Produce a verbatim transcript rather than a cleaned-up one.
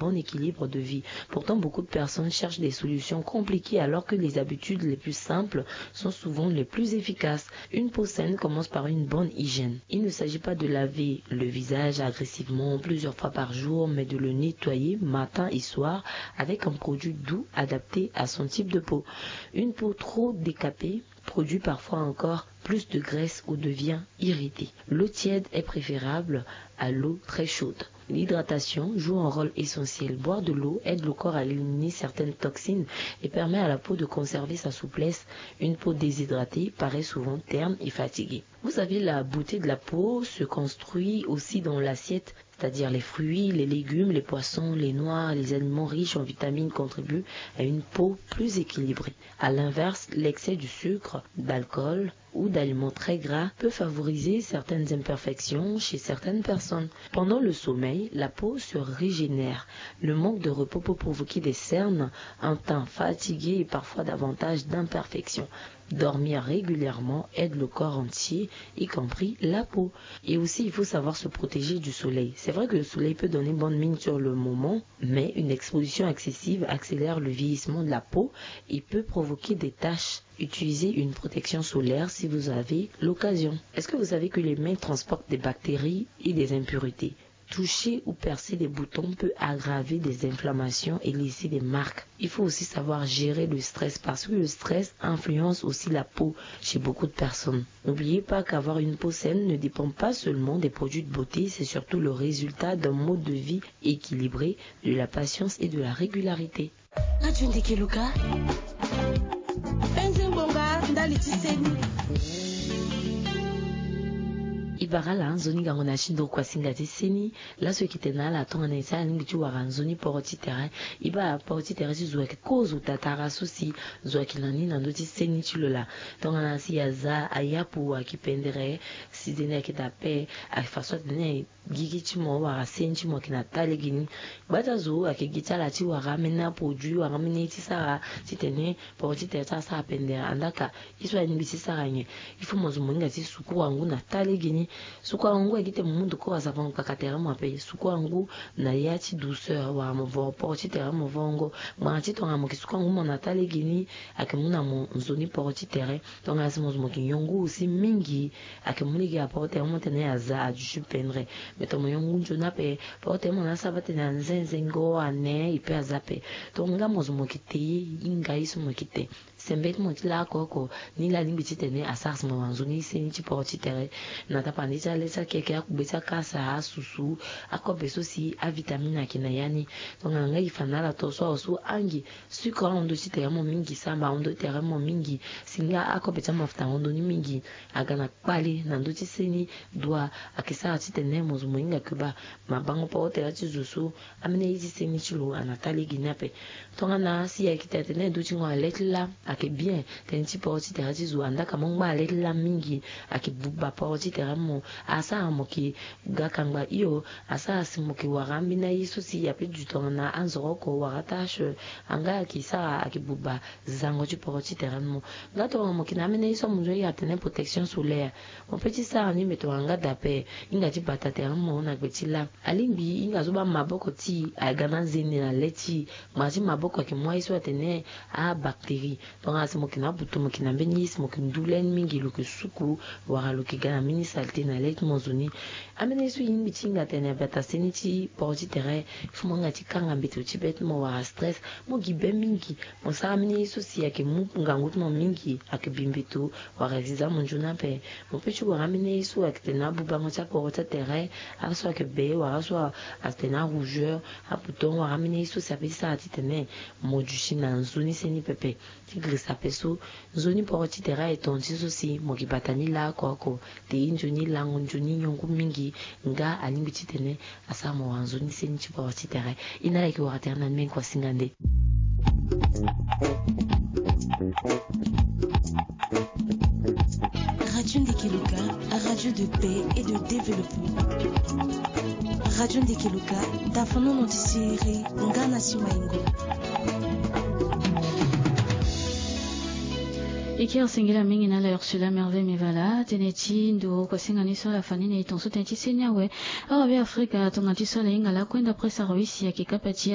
bon équilibre de vie. Pourtant, beaucoup de personnes cherchent des solutions compliquées alors que les habitudes les plus simples sont souvent les plus efficaces. Une peau saine commence par une bonne hygiène. Il ne s'agit pas de laver le visage agressivement plusieurs fois par jour, mais de le nettoyer matin et soir avec un produit doux adapté à son type de peau. Une peau trop décapée produit parfois encore plus de graisse ou devient irritée. L'eau tiède est préférable à l'eau très chaude. L'hydratation joue un rôle essentiel. Boire de l'eau aide le corps à éliminer certaines toxines et permet à la peau de conserver sa souplesse. Une peau déshydratée paraît souvent terne et fatiguée. Vous savez, la beauté de la peau se construit aussi dans l'assiette, c'est-à-dire les fruits, les légumes, les poissons, les noix, les aliments riches en vitamines contribuent à une peau plus équilibrée. À l'inverse, l'excès du sucre, d'alcool ou d'aliments très gras peut favoriser certaines imperfections chez certaines personnes. Pendant le sommeil, la peau se régénère. Le manque de repos peut provoquer des cernes, un teint fatigué et parfois davantage d'imperfections. Dormir régulièrement aide le corps entier, y compris la peau. Et aussi, il faut savoir se protéger du soleil. C'est vrai que le soleil peut donner bonne mine sur le moment, mais une exposition excessive accélère le vieillissement de la peau et peut provoquer des taches. Utilisez une protection solaire si vous avez l'occasion. Est-ce que vous savez que les mains transportent des bactéries et des impuretés ? Toucher ou percer des boutons peut aggraver des inflammations et laisser des marques. Il faut aussi savoir gérer le stress parce que le stress influence aussi la peau chez beaucoup de personnes. N'oubliez pas qu'avoir une peau saine ne dépend pas seulement des produits de beauté, c'est surtout le résultat d'un mode de vie équilibré, de la patience et de la régularité. Radio Ndeke Luka. Penze mbonga ndali ti seni. I bara ala nzoni gango na ti ndokua singa ti seni. Laso e yeke tene na ala tongana e sara lingbi ti wara nzoni poro ti tere. I bara poro ti tere ti zo ayeke kozo tatara so si zo ayeke na ni na ndö ti seni ti lo laa. Tongana si aza ayapu ayeke pendere, si zende ayeke daa ape, ayeke fa so atene gigi ti mo wala seni ti mo ayeke na taa lege ni. Gba ti azo ayeke gi ti ala ti wara ambeni aproduit wala ambeni ye ti sara titene poro ti tere ti ala sara pendere. Andaka ye so alingbi ti sara nyen? Il faut mo zo mo hinga ti sukuru angu na taa lege ni. Sukuru angu ayeke gi ti tene mo mu ndokoro asavon kpaka tere mo ape. Sukuru angu na ya ti douceur wala mo voro poro ti tere mo vongo. Ngbanga ti tongana mo yeke sukuru angu mo na taa lege ni, ayeke mu na mo nzoni poro ti tere. Tongana si mo zo mo yeke nyon ngu aussi mingi, ayeke mu lege aporo tere mo tene aza aduti pendere. Mais tongana mo nyon ngu nzoni ape, poro tere mo na asara tene anzenzengo ane e pe aza ape. Tongana nga mo zo mo yeke te ye, hinga ye so mo yeke te. Sembe ti mo ti laa oko oko ni laa alingbi titene asara si mo wara nzoni seni ti poro ti tere. Na tapande ti ale ti akeke, akugbe ti akasa, asusu, akobe so si avitamine ayeke na ya ni. Tongana nga e fa na ala to so awe so angi, sucre ahon ndö ti tere mo mingi, samba ahon ndö ti tere mo mingi, si nga akobe ti amafuta ahon ndö ni mingi, aga na kpale na ndö ti seni. Dua ayeke sara titene mo zo mo hinga yeke baa mabango poro tere ti zo so, ambeni aye ti seni ti lo ana taa lege ni ape. Tongana si ayeke tene atene ndö ti ngo na le ti laa, ayeke bien tënë ti poro ti tere ti zo, andaka mo ngba na le ti laa mingi, ayeke buba poro ti tere mo. Asara mo yeke ga kangba hio, asara si mo yeke wara ambeni aye so si ape du tongana anzoro oko wala tache, anga ayeke sara ayeke buba zango ti poro ti tere mo. Nga tongana mo yeke na ambeni aye so amunzu aye atene protection solaire, mo pe ti sara ni, me tongana nga daa ape, hinga ti bata tere mo na gbe ti laa. Alingbi hinga so baa maboko ti e aga na anzende na le ti e. Ngbanga ti maboko ayeke mu aye so atene abactérie. Tongana si mo yeke na abutu, mo yeke na mbeni ye si mo yeke ndu le ni mingi, lo yeke suku wala lo yeke ga na mbeni saleté na le ti mo zo ni. Ambeni ye so e lingbi ti hinga atene abata seni ti poro ti tere, il faut mo hinga ti kanga mbeto ti be ti mo wala stress. Mo gi be mingi, mo sara ambeni ye so si ayeke mu ngangu ti mo mingi, ayeke bi mbeto wala ziza mo nzoni ape. Mo pe ti wara ambeni ye so ayeke tene abubango ti aporo ti atere, aso ayeke be wala aso atene arougeur, abouton wala ambeni ye so si ape ti sara titene mo duti na nzoni seni pepe. Ti girisa ape so, nzoni poro ti tere aye tonga ti so si mo gi bata ni laa oko oko. Te ye nzoni lango nzoni nyongu mingi, nga alingbi titene asara mo wara nzoni seni ti poro ti tere. E na ala yeke wara tere na ni mbeni kua singa nde. Radio Ndeke Luka, radio de paix et de développement. Radio Ndeke Luka, tafanono ti siriri nga na simaingo. E kiri singila mingi na ala Ursula Merveille Mivala, tënë ti ndo kua singa ni so ala fa ni na e tongaso tënë ti seni awe. Awa be Afrika, tongana ti so ala hinga laa kue nda presse arwisi ayeke kapa ti